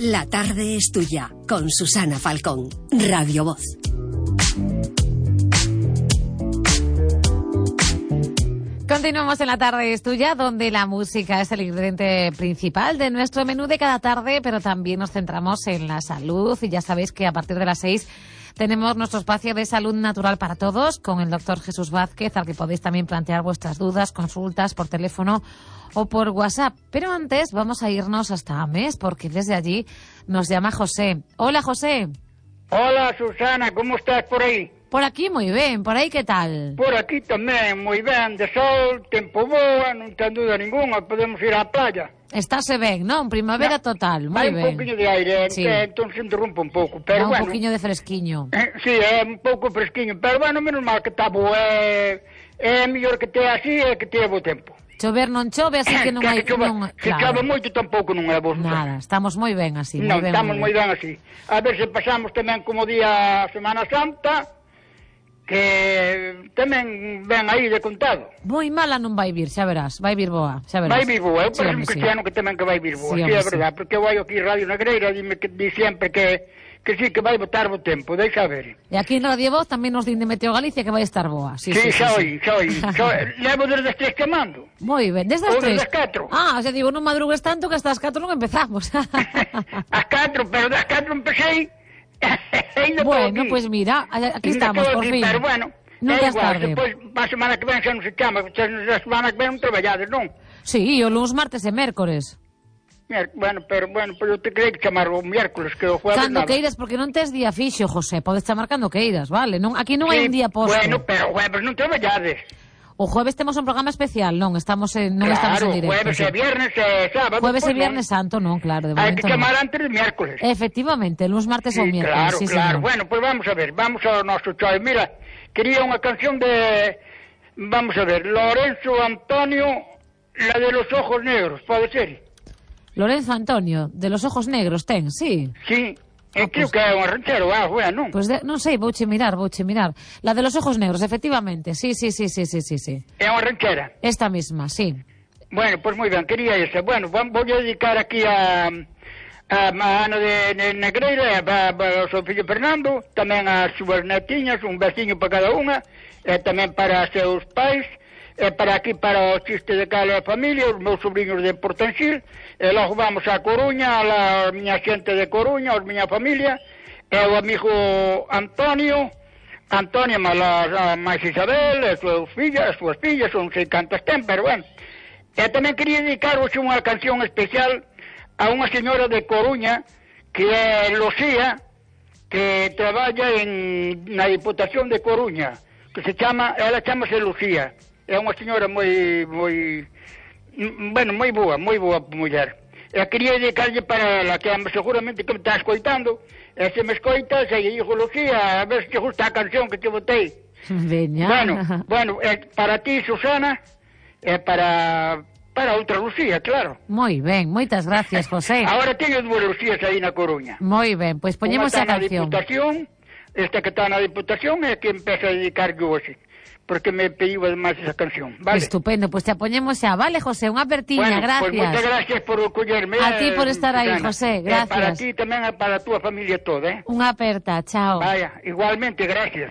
La tarde es tuya, con Susana Falcón, Radio Voz. Continuamos en La tarde es tuya, donde la música es el ingrediente principal de nuestro menú de cada tarde, pero también nos centramos en la salud. Y ya sabéis que a partir de las 6 tenemos nuestro espacio de salud natural para todos con el doctor Jesús Vázquez, al que podéis también plantear vuestras dudas, consultas por teléfono o por WhatsApp. Pero antes vamos a irnos hasta Ames, porque desde allí nos llama José. Hola, José. Hola, Susana, ¿cómo estás por aí? Por aquí moi ben, por aí que tal? Por aquí tamén, moi ben, de sol, tempo boa, non ten duda ninguna, podemos ir á playa. Estáse ben, non? Primavera total, moi ben. Hai un pouquiño de aire, sí. Entón se interrompe un pouco, pero un bueno. Un pouquiño de fresquiño. Sí, é un pouco fresquiño, pero bueno, menos mal que está boa, é mellor que tea así e que tea bo tempo. Chover non chove, así que non hai... Se chove moito tampouco non é bo. Nada, estamos moi ben así. Non, estamos moi ben así. A ver se pasamos tamén como día Semana Santa, que tamén ven aí de contado. Moi mala non vai vir, xa verás, vai vir boa, xa verás. Vai vir boa, eu parece un cristiano que tamén que vai vir boa, sí, é verdade, porque eu vai aquí Radio Negreira, dime que di sempre que sí, que vai botar bo tempo, deixa ver. E aquí en Radio Voz tamén nos din de Meteo Galicia que vai estar boa. Sí, xa oí. Levo desde as 3 chamando. Moi ben, desde as 3. Ou desde as 4. Ah, xa digo, non madrugues tanto que hasta as 4 non empezamos. As 4, pero das 4 empecé. Bueno, pues mira, aquí estamos, por fin. Pero bueno, nunca es tarde. Depois, a semana que ven xa non se chama, a semana que ven non traballades, non? Sí, o luns, martes e mércores. Bueno, pero eu te creio que chamar o miércoles, que o jueves cando nada. queiras, porque non tes día fixo, José, podes chamar cando queiras, vale? Non, aquí non hai un día posto. Bueno, pero o jueves non traballades. O jueves temos un programa especial, non estamos en directo. Jueves e viernes e sábado. Jueves e viernes santo, non, claro, de momento. Hai que chamar antes de miércoles. Efectivamente, luns, martes ou miércoles. Claro, claro. Bueno, pues vamos a ver, vamos ao noso choice. Mira, quería unha canción de, vamos a ver, Lorenzo Antonio, la de los ojos negros, pode ser? Lorenzo Antonio, de los ojos negros, ten, sí. Sí. Creo que é un ranchero, non? Pois non sei, vouche mirar. La de los ojos negros, efectivamente, sí. É unha ranchera? Esta misma, sí. Bueno, pues moi ben, quería esa. Bueno, vou a dedicar aquí a Ana de Negreira, ao seu fillo Fernando, tamén as súas netiñas, un veciño para cada unha, e tamén para os seus pais, e para aquí, para o chiste de cada familia, os meus sobrinhos de Portanxil, e logo vamos a Coruña, a miña xente de Coruña, a miña familia, e o amigo Antonio, máis Isabel, as súas fillas, non sei cantas ten, pero bueno. E tamén quería dedicar hoxe unha canción especial a unha señora de Coruña, que é Lucía, que traballa na Diputación de Coruña, que ela chamase Lucía. É unha señora moi boa muller. E quería dedicarlle para ela, que seguramente que me está escoitando, e se me escoita, se lle digo, Lucía, a ver se te gusta a canción que te botei. Veña. Bueno, para ti, Susana, e para outra Lucía, claro. Moi ben, moitas gracias, José. Agora teño dúas Lucías aí na Coruña. Moi ben, pois poñemos a canción. Esta que está na Diputación é que empeza a dedicar yo hoxe, porque me pediu además esa canción, vale? Estupendo, pues te apoñemos xa, vale, José, unha apertiña, gracias. Pues moitas gracias por collerme. A ti por estar aí, José, gracias. Para ti tamén, para a túa familia toda, Unha aperta, chao. Vaya, igualmente, gracias.